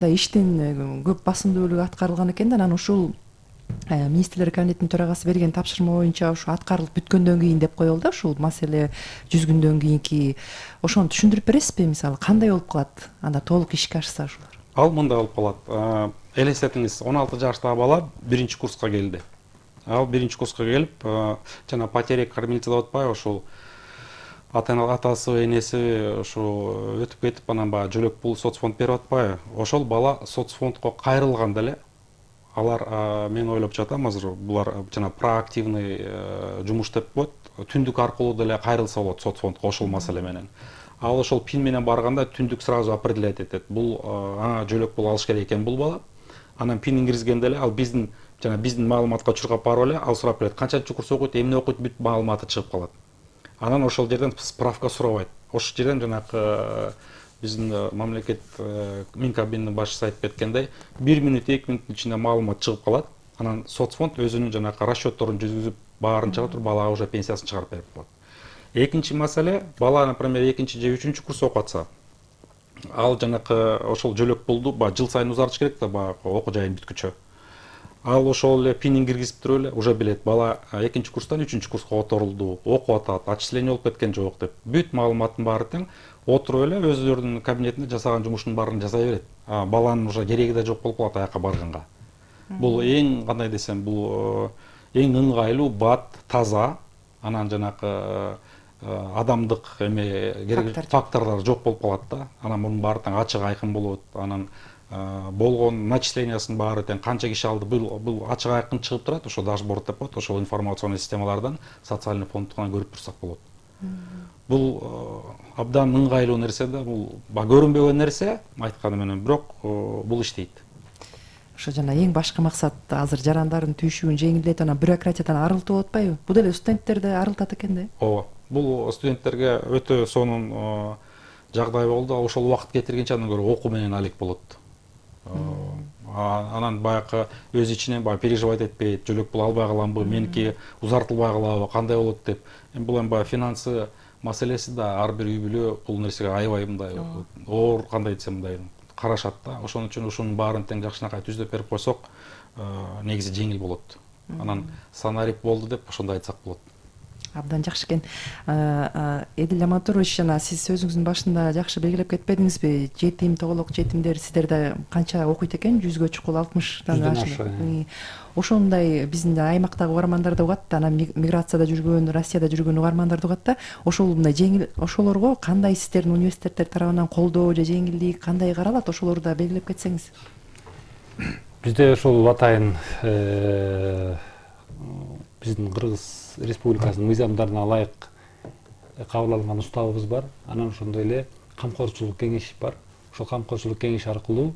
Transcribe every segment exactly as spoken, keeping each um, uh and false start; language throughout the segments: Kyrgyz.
Иштин көп басымдуулугу аткарылган экен да, анан ушул министрлер кабинетинин төрагасы берген тапшырма боюнча ушу аткарылып бүткөндөн кийин деп коелу да, ушул маселе жүз күндөн кийинки ошону түшүндүрүп бересизби? Мисалы кандай болуп калат анда толук ишке ашса ушулар? Ал мындай болуп калат. Элестетиңиз, он алты жаштагы бала биринчи курска келди. Ал биринчи курска келип, жана потеря кормильца деп атпайбы, ошол атасы, энеси ошо өтүп кетип, анан баягы жөлөк пул соцфонд берип атпайбы? Ошол бала соцфондко кайрылган деле. Алар, мен ойлоп жатам азыр, булар жана проактивный жумуш деп коет. Түндүк аркылуу деле кайрылса болот соцфондко ошол маселе менен. Ал ошол пин менен барганда түндүк сразу определять этет. Бул ага жөлөк пул алыш керек экен бул бала. Анан пинин киргизгенде эле ал биздин жана биздин маалыматка чуркап барып эле ал сурап берет. Канчанчы курс окуйт, эмне окуйт, бүт маалыматы чыгып калат. Анан ошол жерден справка сурабайт. Ошол жерден жанагы биздин мамлекет Минкабинин башчысы айтып кеткендей, бир мүнөт, эки мүнөттүн ичинде маалымат чыгып калат. Анан соцфонд өзүнүн жанагы расчетторун жүзгүзүп, баарын чыгара туруп балага уже пенсиясын чыгарып берип коет. Экинчи маселе, бала, например, экинчи же үчүнчү курс окуп атса, ал жанагы ошол жөлөк пулду баягы жыл сайын узартыш керек да, баягы окуу жайын бүткүчө. Ал ошол эле пинин киргизип туруп эле уже билет, бала экинчи курстан үчүнчү курска которулду, окуп атат, отчисление болуп кеткен жок деп. Бүт маалыматтын баары тең отуруп эле өздөрүнүн кабинетинде жасаган жумушунун баарын жасай берет. Баланын уже кереги да жок болуп калат аяка барганга. Бул эң кандай десем, бул эң ыңгайлуу, бат, таза, анан жанагы адамдык эме керек факторлор жок болуп калат да. Анан мунун баары тең ачык айкын болот. Анан болгон начислениясынын баары тең канча киши алды, бул бул ачык айкын чыгып турат, ошо дашборд деп коет, ошол информационный системалардан социальный фондтон көрүп турсак болот. Бул абдан ыңгайлуу нерсе да, бул көрүнбөгөн нерсе айтканы менен, бирок бул иштейт. Ошо жана эң башкы максат азыр жарандардын түйшүгүн жеңилдетип, анан бюрократиядан арылтуу болуп атпайбы? Бул деле студенттерди арылтат экен да? Ооба. Бул студенттерге өтө сонун жагдай болду. Ошол убакыт кетиргенче андан көрө окуу менен алек болот. Анан баягы өз ичинен баягы переживать этпейт, жөлөк пул албай каламбы, меники узартылбай калабы, кандай болот деп. Эми бул эми баягы финансы маселеси да, ар бир үй бүлө бул нерсеге аябай мындай оор, кандай десем мындай карашат да. Ошон үчүн ушунун баарын тең жакшынакай түздөп берип койсок, негизи жеңил болот. Анан сценарий болду деп ошондой айтсак болот. Абдан жакшы экен. Эдил Амантурович, жана сиз сөзүңүздүн башында жакшы белгилеп кетпедиңизби? Жетим, тоголок жетимдер сиздерде канча окуйт экен? Жүзгө чукул алтымыштан ашык. Ошондой биздин аймактагы угармандарды угат да, анан миграцияда жүргөн, Россияда жүргөн угармандарды угат да. Ошол мындай жеңил, ошолорго кандай сиздердин университеттер тарабынан колдоо же жеңилдик кандай каралат? Ошолорду да белгилеп кетсеңиз. Бизде ошол атайын биздин Кыргыз Республикасынын мыйзамдарына ылайык кабыл алынган уставыбыз бар. Анан ошондой эле камкорчулук кеңеши бар. Ошол камкорчулук кеңеши аркылуу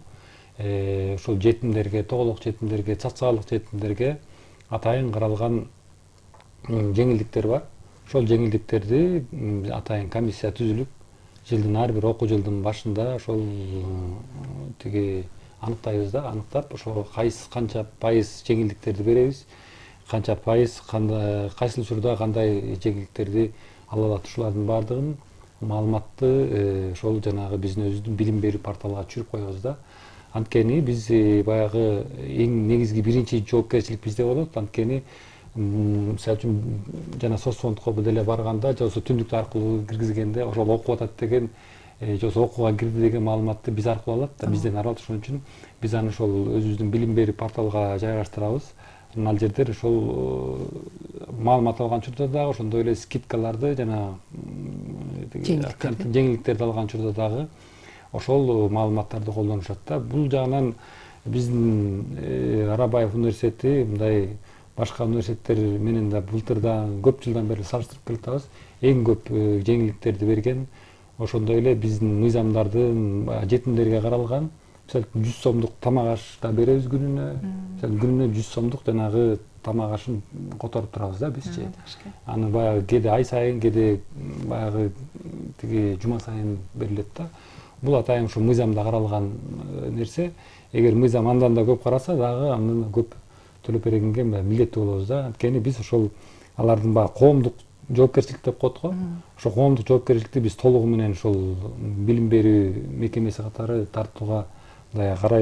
ошол жетимдерге, тоголок жетимдерге, социалдык жетимдерге атайын каралган жеңилдиктер бар. Ошол жеңилдиктерди атайын комиссия түзүлүп, жылдын ар бир окуу жылдын башында ошол тиги аныктайбыз да, аныктап, ошо кайсы канча пайыз жеңилдиктерди беребиз, канча пайыз кандай кайсыл учурда кандай жеңилдиктерди ала алат, ушулардын баардыгын маалыматты ошол жанагы биздин өзүбүздүн билим берүү порталына түшүрүп коебуз да. Анткени биз баягы эң негизги биринчи жоопкерчилик бизде болот. Анткени мисалы үчүн жана соцфондко деле барганда, же болбосо түндүктү аркылуу киргизгенде ошол окуп атат деген, же болбосо окууга кирди деген маалыматты биз аркылуу алат да, бизден аралат. Ошон үчүн биз аны ошол өзүбүздүн билим берүү порталга жайгаштырабыз. Ал жердер ошол маалымат алган учурда дагы ошондой эле скидкаларды жана жеңилдиктерди алган учурда дагы ошол маалыматтарды колдонушат да. Бул жагынан биздин Арабаев университети мындай башка университеттер менен да былтырдан көп жылдан бери салыштырып келатабыз. Эң көп жеңилдиктерди берген ошондой эле биздин мыйзамдардын жетимдерге каралган, мисалы жүз сомдук тамак аш да беребиз күнүнө. Мисалы күнүнө жүз сомдук жанагы тамак ашын которуп турабыз да бизчи. Аны баягы кээде ай сайын, кээде баягы тиги жума сайын берилет да. Бул атайын ушу мыйзамда каралган нерсе. Эгер мыйзам андан да көп караса дагы андан да көп төлөп бергенге милдеттүү болобуз да. Анткени биз ошол алардын баягы коомдук жоопкерчилик деп коет го. Ошо коомдук жоопкерчиликти биз толугу менен ошол билим берүү мекемеси катары тартууга мындай карайбыз.